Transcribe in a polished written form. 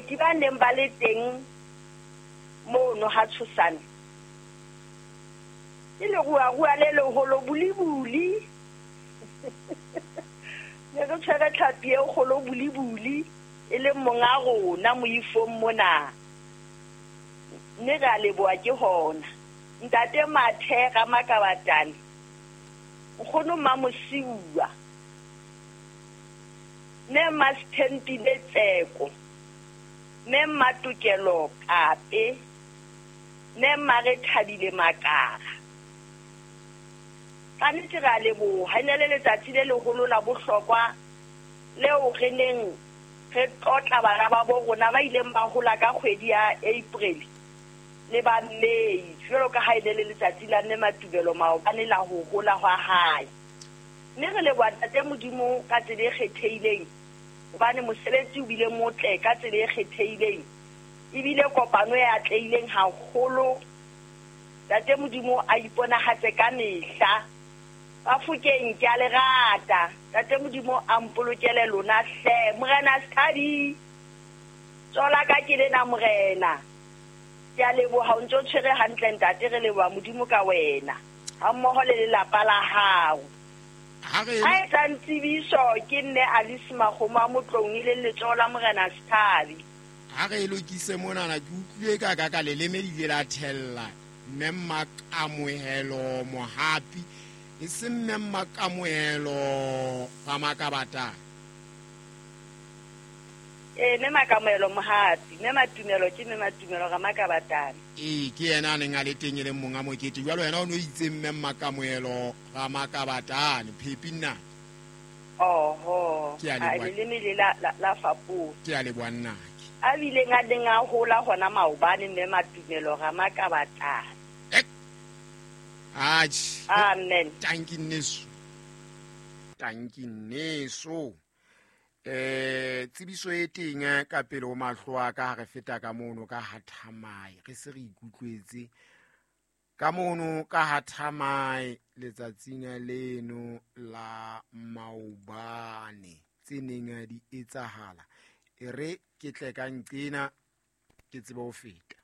Baeti ba neng ba le teng mono ha Tshosane ke leruarua le leholo bulibuli. Ne re tshwere tlhapi e kgolo bulibuli e leng monga rona moifong mona. Mme re a leboha ke hona. Ntate Mathe Ramakabatane, nkgono Mmamosiuwa, Mme Mmasithempile Tseko, Mme Mmatokelo Kape, Mme Mmarethabile Makara. Ka nnete re a leboha. E ne le letsatsi le leholo la bohlokwa leo re neng re tlotla bana ba bo rona ba ileng ba hola ka kgwedi ya April le ba May, jwalo ka ha e ne le letsatsi la Mme Matubelo maobane la ho hola hwa hae. Mme re leboha Ntate Modimo ka tsela e kgethehileng hobane mosebetsi o bile motle ka tsela e kgethehileng. Ebile kopano e atlehileng haholo. Ntate Modimo a iponahatse ka mehla. Bafokeng ke a le rata. Ntate Modimo a mpolokele lona hle. Morena Sethabi, tsoho la ka ke lena Morena. Ke a leboha o ntse o tshwere hantle ntate, re leboha Modimo ka wena hammoho le lelapa la hao. Ha re A etsang tsebiso ke Mme Alice Makgomo a Motloung e leng letsoho la Morena Sethabi. Ha re e lokise monana, ke utlwile ka ka ka leleme le ile la thella Mme Mmakamohelo Mohapi, e seng Mme Mmakamohelo Ramakabatana. Ee, Mme Makamohelo Mohapi, Mme Matumelo ke Mme Matumelo Ramakabatana. Ee, ke yena a neng a le teng e leng monga mokete. Jwale wena o ne o itse Mme Mmakamohelo Ramakabatane, Phepi nnake. Oho, Ke a a leboha. leleme le la, la, la fapoha. Ke a leboha nnake. A bileng a neng a hola hona maobane Mme Matumelo Ramakabatana. Ek. Atjhe. Amen. Tanki nneso. Tanki nneso. Eh tsebiso e teng ka pele ho mahlo a ka ha re feta ka mono ka ha Thamae re se re ikutlwetse ka mono ka ha Thamae letsatsing leno la maobane tse neng di etsahala e re ke tle ka nqena ke tsebe ho feta.